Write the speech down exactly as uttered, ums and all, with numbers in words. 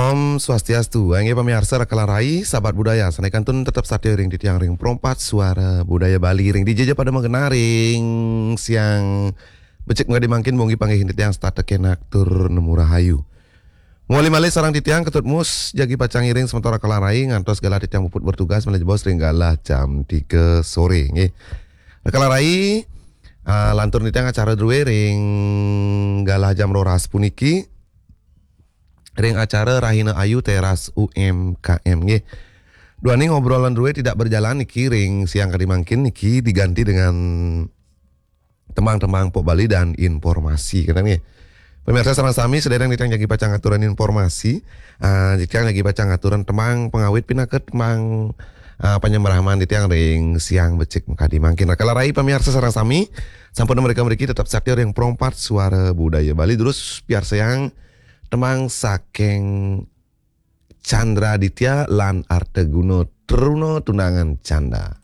Om Swastiastu, inggih pamiarsa Raka lan Rai, sahabat budaya, sané kantun tetep satia ring titiang ring Pro empat Suara Budaya Bali, ring dija ja pada magenah ring siang becik makadi mangkin, munggi panggihin titiang setata kenak tur nemu rahayu. Mawali malih sareng titiang Ketut Mus, jagi pacang ngiring semeton Raka lan Rai ngantos galah titiang puput bertugas malih jebos ring galah jam tiga sore, nggih. Raka lan Rai, ah, lantur titiang acara drué ring galah jam roras puniki, ring acara Rahina Ayu Teras U M K M, nggih. Duaning obrolan drué tidak berjalan niki ring siang kadi mangkin niki diganti dengan tembang-tembang pop Bali dan informasi, kénten nggih. Pamiarsa sareng sami, sadéréng titiang jagi pacang ngaturan informasi, ah, titiang jagi pacang ngaturan tembang pangawit pinaka tembang, ah, panyembraman titiang ring siang becik makadi mangkin. Raka lan Rai pamiarsa sareng sami, sampun mrika mriki tetep satia ring Pro empat Suara Budaya Bali, terus piarsayang tembang saking Chandra Aditya lan Arta Guna, Truna Tunangan Canda.